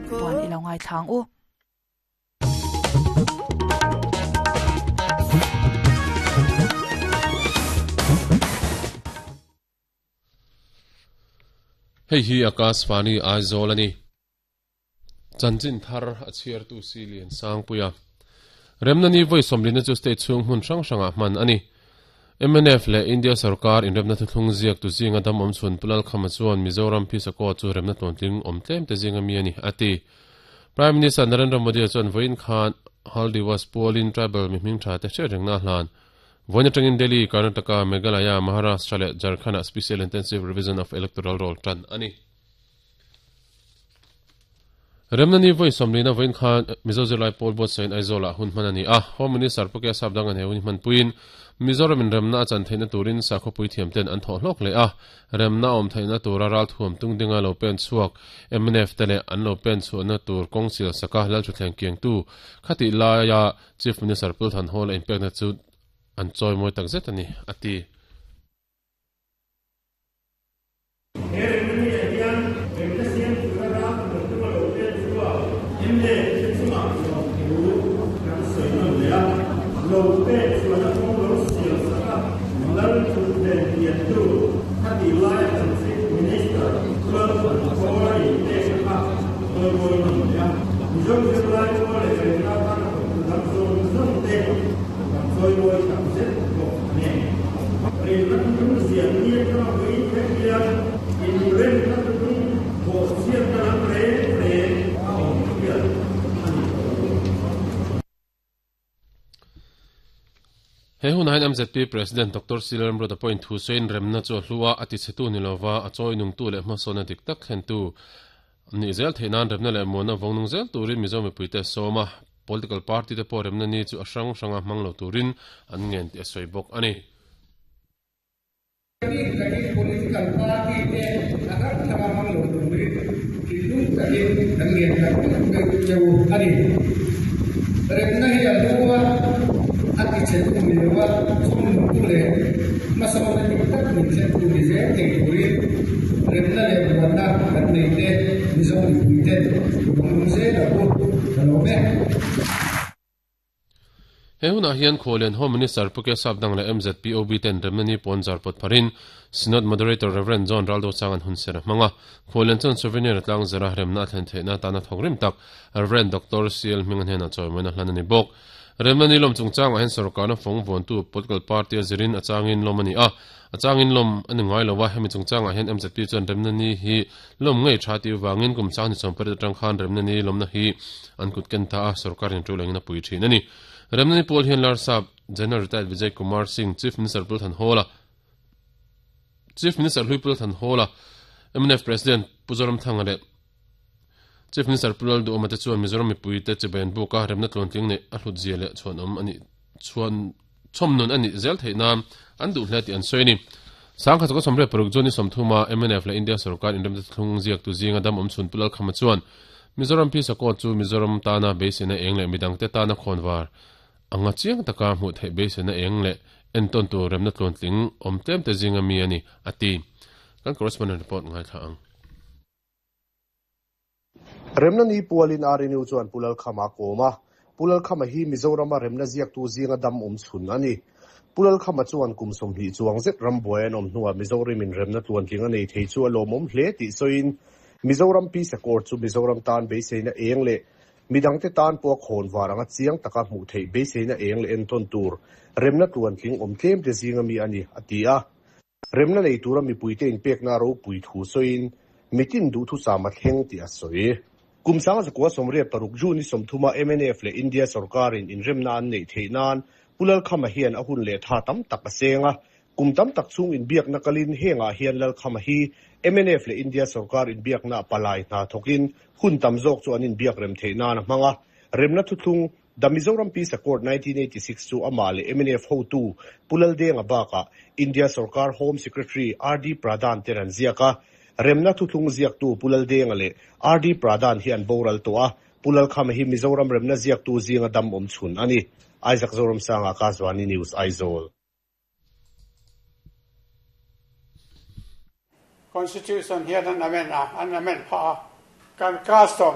Puan i lo ngaithla ang u. Hei hi Akashvani Aizawl a ni. Chanchin thar a chhiartu si Lian Sangpuia. Remna ni vawi sawmlina chu state chhung hmun hrang hrangah hman a ni. Mnf leh India sorkar inremna thuthlung ziak tu zinga dam awm chhun Pu Lalkhama chuan Mizoram Phisakaw chu remna tluantling awm tlem te zinga mi a ni, a ti. Prime Minister Narendra Modi chuan vawiin khan Haldiwas pualin tribal mi hmingtha te hriat rengna a hlan. Vawiin atangin Delhi, Karnataka, Meghalaya, Maharashtra leh Jharkhand-ah Special Intensive Revision of Electoral Roll tan a ni. Remna ni vawi sawmlina vawiin khan Mizo zirlai pawl buatsain Aizawlah hun hman a ni a. Home Minister Pu Kesap Dangan he hun hi hmanpuiin Mizoram in remna a chan theihna turin sakhawpui thiamten an thawh hlawk leh a. Remna a awm theihna tura ralthuam tung dinga lo pen chhuak mnf te leh an lo pen chhuahna tur kawng sial saka Lalthuthleng kiangtu khatih laia Chief Minister Pu Thanhawla inpekna chu an chawimawi takzet a ni, a ti. He remna hian remna siam tura ram lo tum a lo pen chhuak mla te chungah zawng thu kan sawi nawn leh a, lo pen chhuahna kawng lo siam sak a, lal thuthleng piantu khatih laia kan Chief Minister Lalthan Kawla inpekna kha chawimawi nawn leh a, Mizo zirlai pawl leh remna atana thawktu dang zawng zawng te kan chawimawi tak zet bawk a ni. Rinna thuthlung ziah ni atanga vawiin thleng hian inremna thuthlung bawhchhiatna lam reng reng a awm hial a ni tawh lo. He hunah hian MZP President Doctor Sri Lalramruata pawhin thu sawiin remna chu a hlu a, a tichhetu ni lova a chawi nungtu leh hmasawnna dik tak thlentu nih zel theih nan remna leh muanna vawng nung zel turin Mizo mipuite a sawm a, political party te pawh remna ni chu a hrang hranga hmang lo turin an ngen tih a sawi bawk a ni. Bik takin political party te a hrang hranga hmang lo turin thinlung takin kan ngen tak tak deuh deuh a ni. Remna hi a hlu a, a tichhetu ni lova chhawmnungtu leh hmasawnna dik tak min thlentu ni zel thei turin remna leh buanna kan nei te Mizo mipuiten i vawng zel ang u, ka lawm e. He hunah hian Khualian Home Minister Pu Kesap Dang leh MZPOB ten remna ni pawn zar pawt pharin Synod Moderator Rev. John Raldo Chang an hun ser a hmang a. Khualian chuan souvenir a tlang zar a, remna a thlen theihna atana thawk rim tak Rev. Doctor CL Hminga hnenah chawimawina hlan a ni bawk. Remna ni lawm chungchangah hian sorkarna fawng vuantu political party a zirin a changin lawm a ni a, a changin lawm a ni ngai lo a, hemi chungchangah hian MZP chuan remna ni hi lawm ngei tha tih vangin kum sang ni 18 atang khan remna ni lawmna hi an kut ken ta a, sorkarin tul engin a pui thin a ni. Remna ni pawl hian Larsap General Retired Vijay Kumar Singh, Chief Minister Pul Thanhawla, Chief Minister Hlui Pul Thanhawla, mnf President Pu Zoramthanga leh Chief Minister Pu Lalduhawma te chuan Mizoram mipuite chibai an buk a, remna tluantling neih a hlutzia leh chhuanawm a nih chhuan chhawmnun a nih zel theih nan an duh hle tih an sawi a ni. Sangkhat chawka 36 June ni 30 mnf leh India sorkar inremte thlung ziaktu zinga dam awm chhun Pu Lalkhama chuan Mizoram Pisa Court chu Mizoram tana beiseina eng leh midangte tana khawnvar anga chiang taka hmuh theih beiseina eng leh entawn tur remna tluantling awm tlemte zinga mi a ni, a ti. Kan correspondent report ngaithla ang. Remna ni pualin RNU chuan Pu Lalkhama a kawm a, Pu Lalkhama hi Mizorama remna ziaktu zinga dam awm chhun a ni. Pu Lalkhama chuan kum 20 chuang zet rambuai an awm hnuah Mizoram-in remna tluantling a nei thei chu a lawmawm hle tih sawiin, Mizoram Peace Accord chu Mizoram tan beiseina eng leh midangte tan pawh a khawn var anga chiang taka hmuh theih beiseina eng leh entawn tur remna tluantling awm tlemte zinga mi a ni, a ti a. Remna nei tura mipuite inpekna ropui thu sawiin mitin duhthusam a thleng tih a sawi. Kum 1986 June ni 30 mnf leh India sorkarin inremna an neih theih nan Pu Lalkhama hian a hun leh tha tam tak a seng a. Kum tam tak chhung inbiakna kalin hengah hian Lalkhama hi mnf leh India sorkar inbiakna palai hna thawkin hun tam zawk chu an inbiak rem theih nan a hmang a. Remna thuthlung The Mizoram Peace Accord 1986 chu amah leh mnf hotu Pu Laldenga bakah India sorkar Home Secretary RD Pradhan ten an ziak a. Remna thuthlung ziaktu Pu Laldenga leh RD Pradhan hi an boral tawh a, Pu Lalkhama hi Mizoram remna ziaktu zinga dam awm chhun a ni. Isaac Zoramsanga, Kazwani News, Aizawl. Constitution hian an amend a, an amend phah a, kan custom.